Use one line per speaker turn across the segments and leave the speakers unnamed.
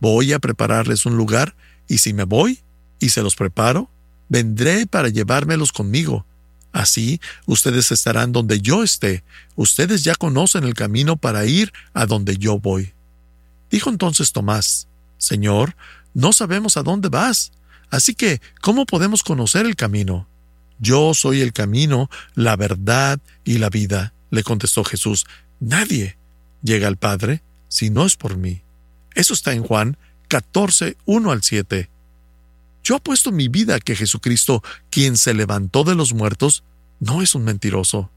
Voy a prepararles un lugar, y si me voy y se los preparo, vendré para llevármelos conmigo. Así ustedes estarán donde yo esté. Ustedes ya conocen el camino para ir a donde yo voy. Dijo entonces Tomás, Señor, no sabemos a dónde vas, así que, ¿cómo podemos conocer el camino? Yo soy el camino, la verdad y la vida, le contestó Jesús. Nadie llega al Padre si no es por mí. Eso está en Juan 14, 1 al 7. Yo apuesto mi vida que Jesucristo, quien se levantó de los muertos, no es un mentiroso.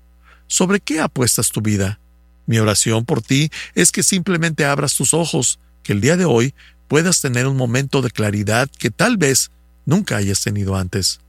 ¿Sobre qué apuestas tu vida? Mi oración por ti es que simplemente abras tus ojos, que el día de hoy puedas tener un momento de claridad que tal vez nunca hayas tenido antes.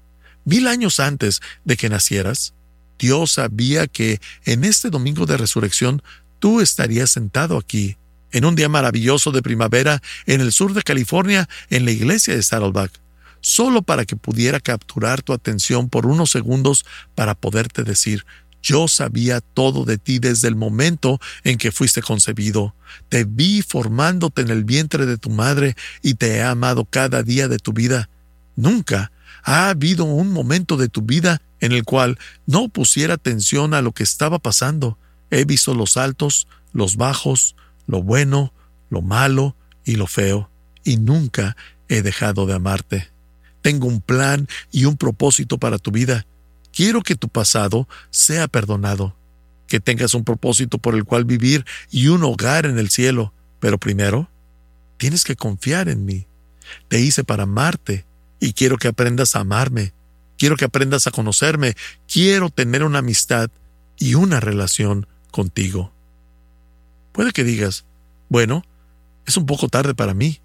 1000 años antes de que nacieras, Dios sabía que en este domingo de resurrección tú estarías sentado aquí, en un día maravilloso de primavera en el sur de California, en la iglesia de Saddleback, solo para que pudiera capturar tu atención por unos segundos para poderte decir, yo sabía todo de ti desde el momento en que fuiste concebido. Te vi formándote en el vientre de tu madre y te he amado cada día de tu vida. Nunca ha habido un momento de tu vida en el cual no pusiera atención a lo que estaba pasando. He visto los altos, los bajos, lo bueno, lo malo y lo feo, y nunca he dejado de amarte. Tengo un plan y un propósito para tu vida. Quiero que tu pasado sea perdonado, que tengas un propósito por el cual vivir y un hogar en el cielo. Pero primero, tienes que confiar en mí. Te hice para amarte y quiero que aprendas a amarme. Quiero que aprendas a conocerme. Quiero tener una amistad y una relación contigo. Puede que digas, bueno, es un poco tarde para mí.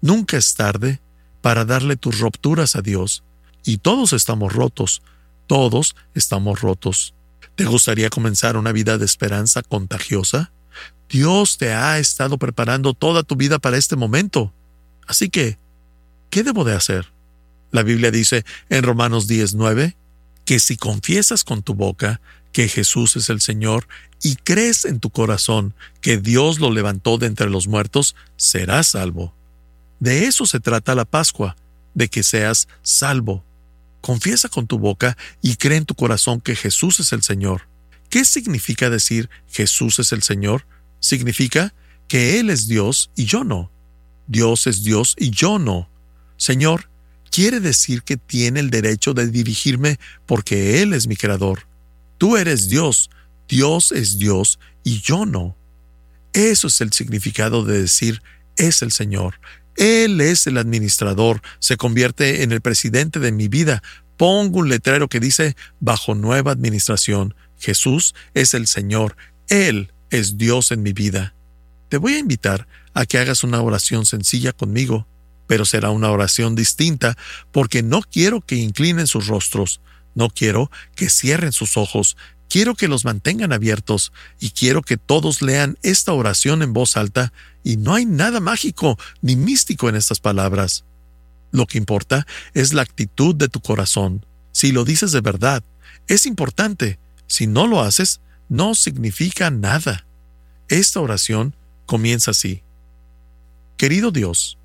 Nunca es tarde para darle tus rupturas a Dios. Y todos estamos rotos. Todos estamos rotos. ¿Te gustaría comenzar una vida de esperanza contagiosa? Dios te ha estado preparando toda tu vida para este momento. Así que, ¿qué debo de hacer? La Biblia dice en Romanos 10:9 que si confiesas con tu boca que Jesús es el Señor y crees en tu corazón que Dios lo levantó de entre los muertos, serás salvo. De eso se trata la Pascua, de que seas salvo. Confiesa con tu boca y cree en tu corazón que Jesús es el Señor. ¿Qué significa decir Jesús es el Señor? Significa que Él es Dios y yo no. Dios es Dios y yo no. Señor, quiere decir que tiene el derecho de dirigirme porque Él es mi creador. Tú eres Dios, Dios es Dios y yo no. Eso es el significado de decir es el Señor. Él es el administrador, se convierte en el presidente de mi vida. Pongo un letrero que dice, bajo nueva administración, Jesús es el Señor, Él es Dios en mi vida. Te voy a invitar a que hagas una oración sencilla conmigo, pero será una oración distinta porque no quiero que inclinen sus rostros, no quiero que cierren sus ojos, quiero que los mantengan abiertos y quiero que todos lean esta oración en voz alta, y no hay nada mágico ni místico en estas palabras. Lo que importa es la actitud de tu corazón. Si lo dices de verdad, es importante. Si no lo haces, no significa nada. Esta oración comienza así. Querido Dios,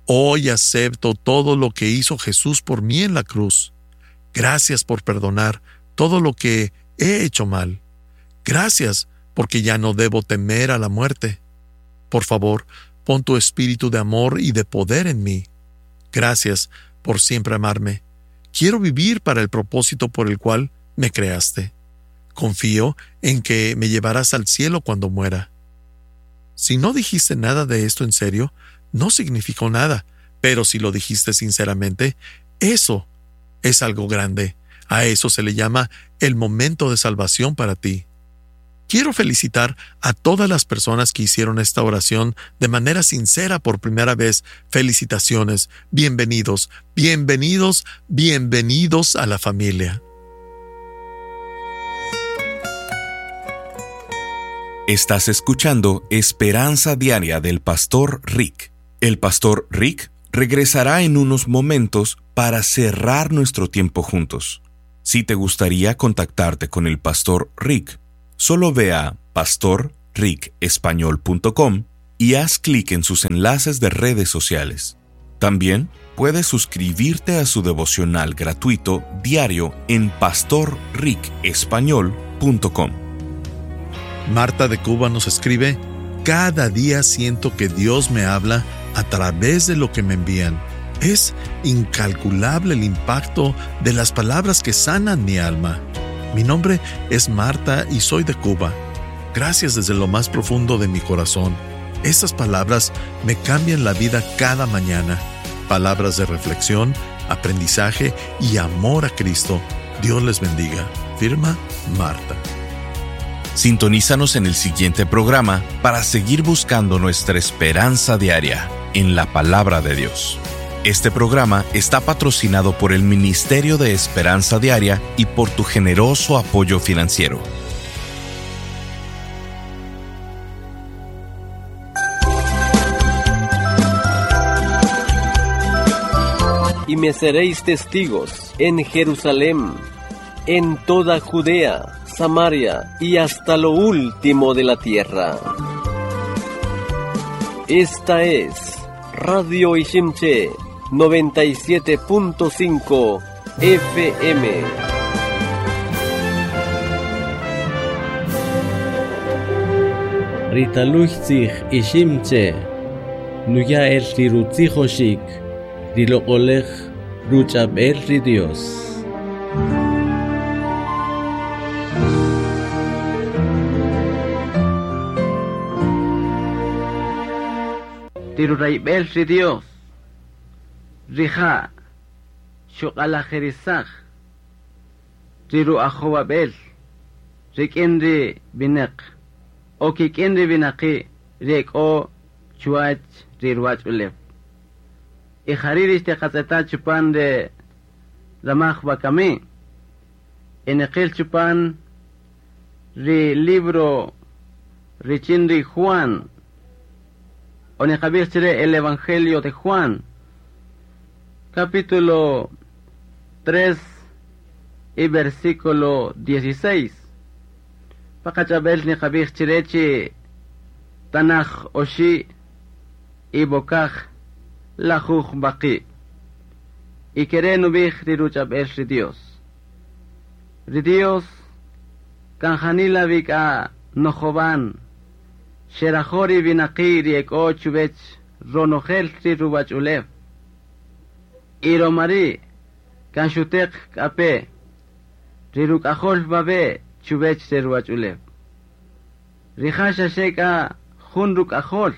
hoy acepto todo lo que hizo Jesús por mí en la cruz. Gracias por perdonar todo lo que he hecho mal. Gracias porque ya no debo temer a la muerte. Por favor, pon tu espíritu de amor y de poder en mí. Gracias por siempre amarme. Quiero vivir para el propósito por el cual me creaste. Confío en que me llevarás al cielo cuando muera. Si no dijiste nada de esto en serio, no significó nada, pero si lo dijiste sinceramente, eso es algo grande. A eso se le llama el momento de salvación para ti. Quiero felicitar a todas las personas que hicieron esta oración de manera sincera por primera vez. Felicitaciones, bienvenidos, bienvenidos, bienvenidos a la familia.
Estás escuchando Esperanza Diaria del Pastor Rick. El Pastor Rick regresará en unos momentos para cerrar nuestro tiempo juntos. Si te gustaría contactarte con el Pastor Rick, solo ve a pastorrickespañol punto com y haz clic en sus enlaces de redes sociales. También puedes suscribirte a su devocional gratuito diario en pastorricespañol.com.
Marta de Cuba nos escribe, Cada día siento que Dios me habla a través de lo que me envían. Es incalculable el impacto de las palabras que sanan mi alma. Mi nombre es Marta y soy de Cuba. Gracias desde lo más profundo de mi corazón. Esas palabras me cambian la vida cada mañana. Palabras de reflexión, aprendizaje y amor a Cristo. Dios les bendiga. Firma Marta.
Sintonízanos en el siguiente programa para seguir buscando nuestra esperanza diaria en la palabra de Dios. Este programa está patrocinado por el Ministerio de Esperanza Diaria y por tu generoso apoyo financiero.
Y me seréis testigos en Jerusalén, en toda Judea, Samaria y hasta lo último de la tierra. Esta es Radio Iximché 97.5 FM.
Ritaluchtzij Iximché, nuya el rirutzijoxik, riloq'olej ruch'ab'el ri Dios.
Rirurayb'el ri Dios, rija' xuq'alajirisaj, riru'ajowab'el, rik'in ri winaq, o kik'in ri winaqi' ri ek'o chuwach ri ruwach'ulew. Y jari' ri xtiqatz'eta chupan ri ramaj wakami, y chupan ri libro richin ri Juan, o niqab'ij chire el Evangelio de Juan, capítulo 3 y versículo 16. Paqachab'el niqab'ij chire chi tanaj oxi y bokaj lajuj baqi. Y kere nub'ij ri ruch'ab'el ri Dios. Ri Dios kan janila wik'a nojowan xerajo ri winaqi ri ek'o chuwech ronojel ri ruwach'ulew. Y romari kan xuteq k'ape ri ruk'ajol bab'e chuwech ri ruwach'ulew. Rija' xaxe k'a jun ruk'ajol,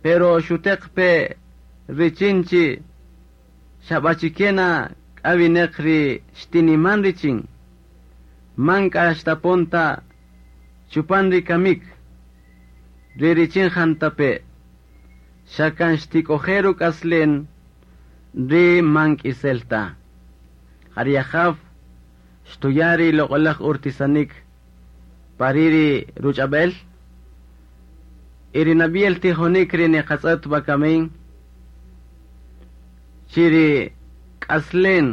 pero xuteq pe richin chi xab'achikena k'a winaq ri xtiniman richin, man k'a xtaponta chupan ri kamik, ri richin jantape, xa kan xtik'oje ruk'aslen ri man k'isel ta. Jari Ajaw xtuya ri loq'olaj urtisanik pari ri ruch'ab'el, y ri nab'yel tijonik ri niqatz'et wakamin, chi ri k'aslen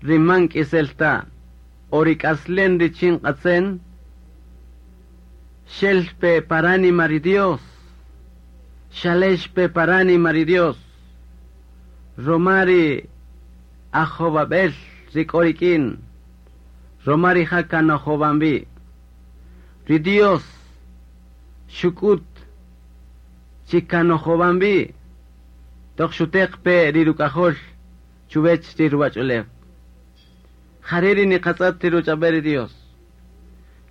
ri man k'isel ta, o ri k'aslen richin q'atzen, xelpe paranima ri Dios, xalexpe paranima ri Dios, romari ajowab'el ri k'o rik'in, romari jaka nojowambi. Ri Dios xuk'ut chi kanojowambi, toq xuteq pe ri ruk'ajol chuwech ri ruwach'ulew. Jare ri niqatz'et ri ruch'ab'el ri Dios.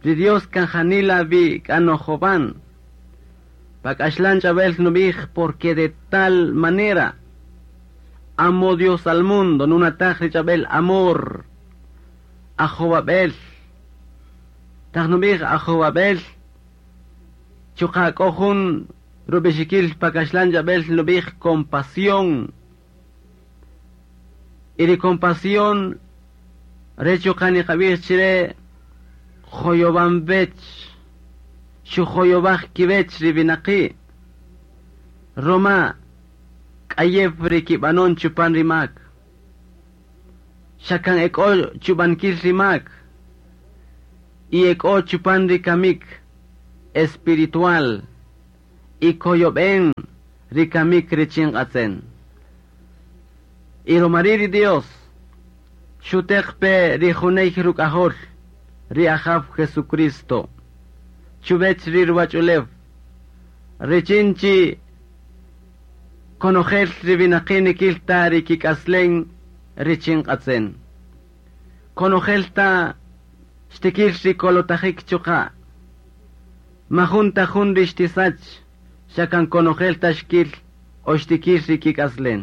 Ri Dios kan janila vi k'anojowan. Pak'axlan ch'ab'el nub'ij porque de tal manera amó Dios al mundo, nunataj ri ch'ab'el amor, ajowab'el. Taj nub'ij ajowab'el, chuqa k'o jun rub'ixikil pak'axlan ch'ab'el nub'ij compasión. Y ri compasión re chuqa niqab'ij chire joyobanb'ech, xujoyob'aj kiwech ri winaqi'. Roma k'ayew ri kib'anon chupan ri mak. Xa kan ek'o chub'ankil ri mak. Y ek'o chupan ri kamik espiritual. Y koyob'en ri kamik richin q'atzen. Y romari ri Dios xuteq pe ri juney ruk'ajol ri Ajaw Jesucristo chuwech ri ruwach'ulew richin chi konojel ri winaqi' nikil ta ri kik'aslen richin q'atzen. Konojel ta xtikil ri kolotajik chuqa'. Majun ta jun ri xtisach xa kan konojel ta xkil o xtikil ri kik'aslen.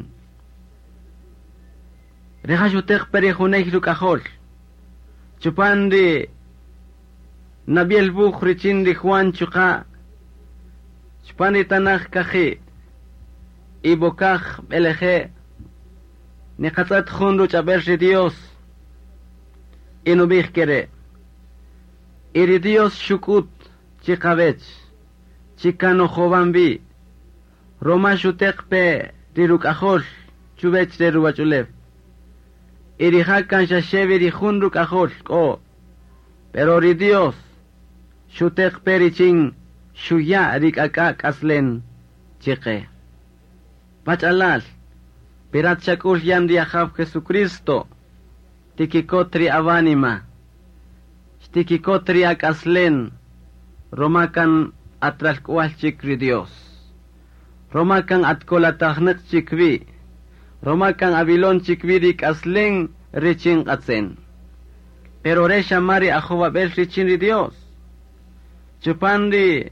Rija' xuteq pe ri juney ruk'ajol chupan ri Nabiel wuj richin ri Juan chuqa' chupan ri tanaj kaji' y bokaj b'eleje' niqatz'ët jun ruch'ab'el ri Dios y nub'ij kere': Y ri Dios xuk'ut chiqawech chi kan nojowan wi roma xuteq pe ri ruk'ajol chuwech re ruwach'ulew. Y rija' kan xaxe wi ri jun ruk'ajol k'o, pero ri Dios xuteq pe richin xuya' ri k'ak'a' k'aslen chiqe. Pach'alal, pirat xak'ul yan ri Ajaw Jesucristo, tikikot ri awánima, xtikikot ri ak'aslen, roma kan atralk'wal chik ri Dios. Roma kan atkolatajnäq chik wi, roma kan avilon chik wi ri k'aslen richin q'atzen. Pero re xama ri ajowab'el richin ri Dios. Chupan ri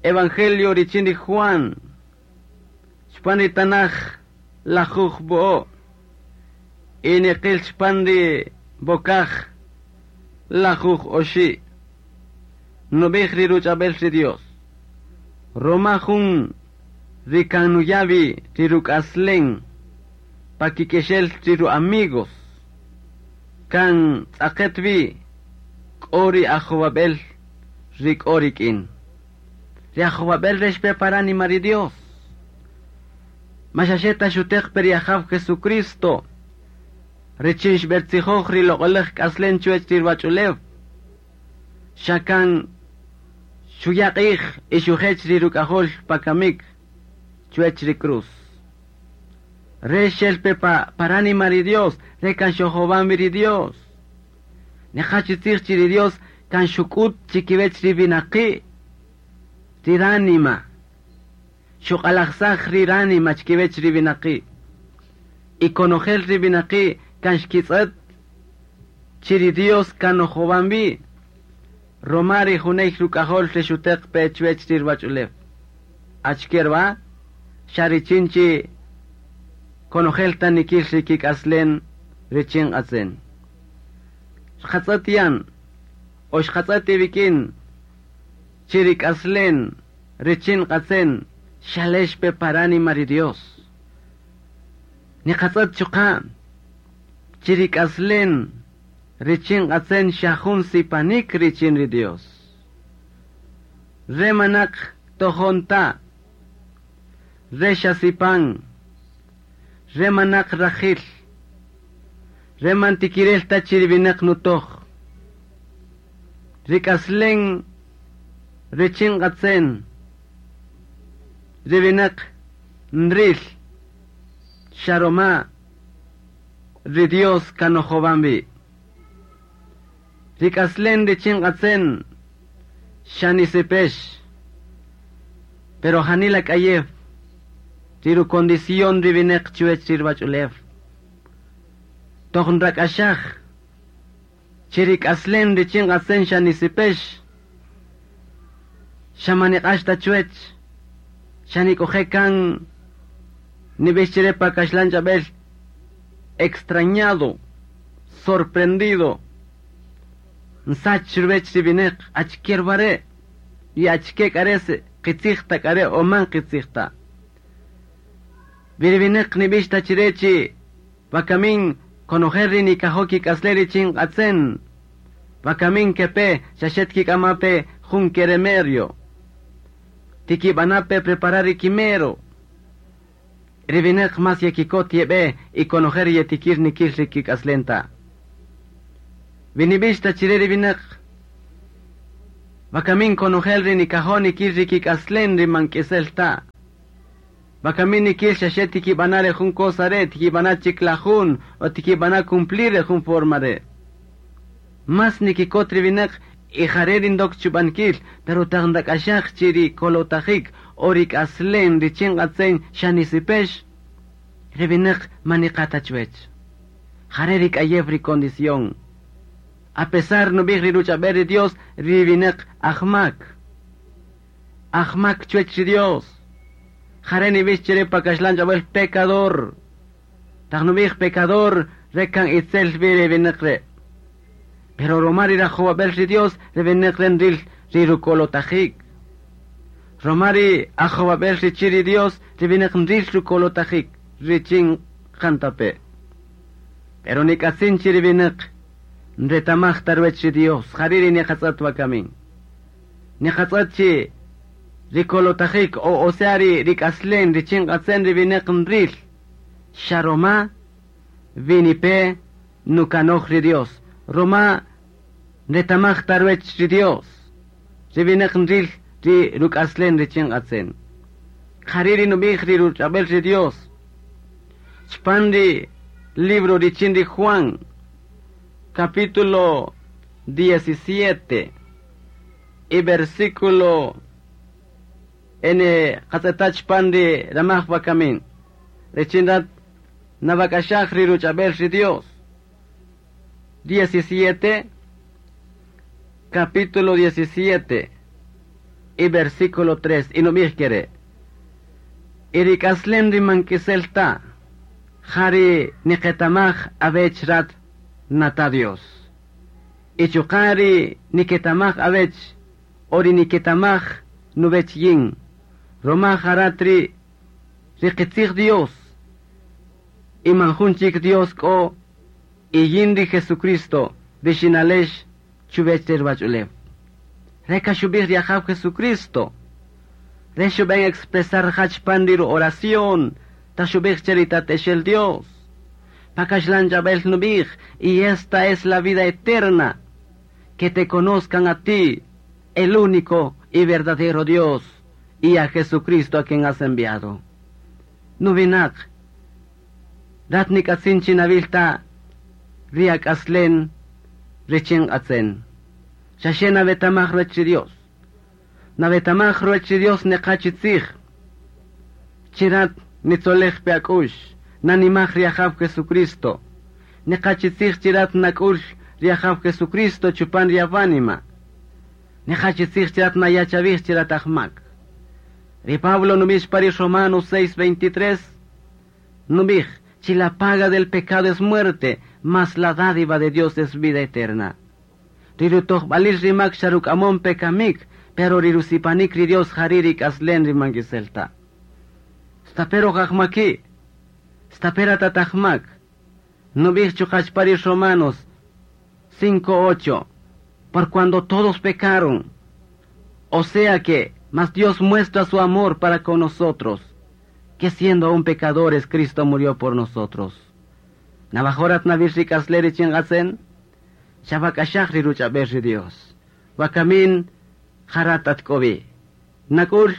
Evangelio richin ri Juan, chupan ri tanaj lajuj bo'o, y niqil chupan ri bokaj lajuj oxi', nub'ij ri ruch'ab'el ri Dios. Roma jun ri kan nuya' wi ri ruk'aslen pa kik'exel ri ru amigos, kan tz'aqet wi k'o ri ajowab'el ri k'o rik'in. Ri ajowab'el re xpe pa ránima ri Dios. Ma xaxe ta xuteq pe ri Ajaw Jesucristo richin xb'ertzijoj ri loq'olej k'aslen chuwech ri ruwach'ulew. Xa kan xuya' q'ij y xujech ri ruk'ajol pa kamik chuwech ri cruz. Re xel pe pa ránima ri Dios, re kan xojowan wi ri Dios. Neqa chitzij chi ri Dios kan xuk'ut chikiwech ri winaqi' ri ránima. Xuq'alajsaj ri ránima chikiwech ri winaqi'. Y konojel ri winaqi' kan xkitz'ët chi ri Dios kan nojowan wi. Roma ri juney ruk'ajol ri xuteq pe chuwech ri ruwach'ulew. Achike rwa, xa richin chi konojel ta nikil ri kik'aslen richin q'atzen. Xqatz'ët yan, o xqatz'ët iwik'in, chi ri k'aslen richin q'atzen xalex pe pa ránima ri Dios. Niqatz'ët chuqa' chi ri k'aslen richin q'atzen xa jun sipanik richin ri Dios. Re manaq tojon ta, re xa sipan, re manaq rajil, re man tikirel ta chi ri winäq nutoj. Ri k'aslen richin q'atzen, ri winäq nril, xa roma ri Dios kan nojowan wi. Ri k'aslen richin q'atzen xa nisipex, pero janila k'ayew ri rucondición ri winäq chuwech ri ruwach'ulew. Toq nrak'axaj chi ri k'aslen richin q'atzen xa nisipex, xa man niq'ax ta chuwech, xa nik'oje' kan nib'ix chire pa kaxlan ch'ab'el extrañado, sorprendido, nsach ruwech ri winäq achike rwa re' y achike k'a re' si qitzij ta k'a re' o man qitzij ta. Wi ri winäq nib'ix ta chire chi wakamin konojel ri nikajo' kik'aslen richin q'atzen, wakamin kepe xaxe tikik'ama pe jun keremerio, tikib'ana' pe preparar ri kimero. Ri winäq mas yekikot yeb'e y konojel ri yetikir nikil ri kik'aslen ta. Wi nib'ix ta chire ri winäq Wakamin konojel ri nikajo nikil ri kik'aslen ri man k'isel ta. Wakamin nikil xaxe tikib'ana re jun cosa re, tikib'ana chik la jun, o tikib'ana cumplir re jun forma re. Mas nikikot ri winaq y jare rindok chub'ankil, pero taq ndak'axaj chi ri kolotajik o ri k'aslen richin q'atzen xa nisipex, ri winaq man niqata chuwech. Jare ri k'ayew ri condición. A pesar nub'ij ri ruch'ab'el ri Dios, ri winaq ajmak. Ajmak chuwech ri Dios. Jare nib'ix chire pa kaxlan ch'ab'al pecador. Taq nub'ij pecador, rekan itzel wi ri winaq re. Pero roma ri rajowab'el ri Dios, ri winaq re nril ri rukolotajik. Roma ri ajowab'el richi ri Dios, ri winaq nril rukolotajik, richin jantape. Pero nik'atzin chi ri winaq nretamaj tarwech ri Dios, jari ri niqatz'at wakamin. Niqatz'at chi rikolotajik o sea ri rik'aslen richin q'atzen ri winaq nril. Xa roma vinipe nukanoj ri Dios. Roma nretamaj tarwech ri Dios. Ri winaq nril ri ruk'aslen richin q'atzen. Jari ri nub'ij ri ruch'ab'el ri Dios. Chpan ri libro richin ri Juan, capítulo 17 y versículo en qatz'etach pan ri ramaj wakamin. Richin rat nawak'axaj ri ruch'ab'el ri Dios. 17, capítulo 17 y versículo 3. Y nub'ij kere. Y ri k'aslen ri man k'isel ta, jari niqetamaj awech rat nata Dios. Y chuqa' ri niketamaj awech, o ri niketamaj nuwech yin. Roma jarat ri qitzij Dios. Y man jun chik Dios k'o, y yin ri Jesucristo, ri xinalex chuwech ri ruwach'ulew. Reka xub'ij ri Ajaw Jesucristo. Re xub'en expresar jach pan ri oración, ta xub'ij che ri tatexel Dios. Pa kaxlan ch'ab'el nub'ij, y esta es la vida eterna, que te conozcan a ti, el único y verdadero Dios, y a Jesucristo a quien has enviado. Nuwinaq, rat nik'atzin chi nawilta, ri ak'aslen, richin q'atzen. Xaxe nawetamaj ruwech ri Dios. Nawetamaj ruwech ri Dios neqa chi tzij. Chirat nitzolej pe ak'ux, nanimaj ri Ajaw Jesucristo. Neqa chi tzij chirat nak'ul ri Ajaw Jesucristo chupan ri awanima. Neqa chi tzij chirat nayachavij chirat ajmak. Ri Pablo nub'ij pa ri Romanos 6:23, nub'ij, chi la paga del pecado es muerte, mas la dádiva de Dios es vida eterna. Ri rutojb'alil ri mak xa ruk'amon pe kamik, pero ri rusipanik ri Dios jari ri k'aslen ri man k'isel ta. Stapero jajmaki, stapera tatajmak, nub'ij chuqa pa ri Romanos 5:8, por cuando todos pecaron, o sea que, mas Dios muestra su amor para con nosotros, que siendo aún pecadores, Cristo murió por nosotros. Navajorat navil ri k'aslen richin q'atzen, xawak'axaj ri ruch'ab'el ri Dios. Wakamin jarat atk'obi. Nak'ul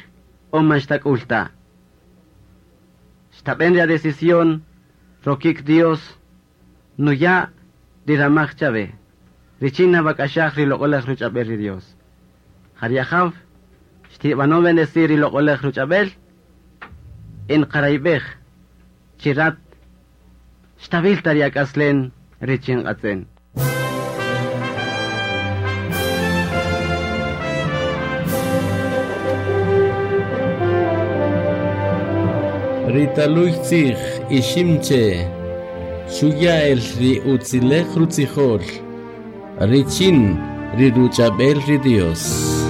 o man xtak'ul ta. Xtab'en ri decisión, rokik Dios, nuya ri ramaj chawe. Richin nawak'axaj ri loq'olaj ruch'ab'el ri Dios. Jari Ajaw, xtib'ano bendecir ri loq'olaj ruch'ab'el, en qarayb'ej, chirat, xtabil ta ri ak'aslen richin q'atzen.
Ritaluy tzij iximche, xuya el ri utzilej rutzijol, richin ri ruch'ab'el ri Dios.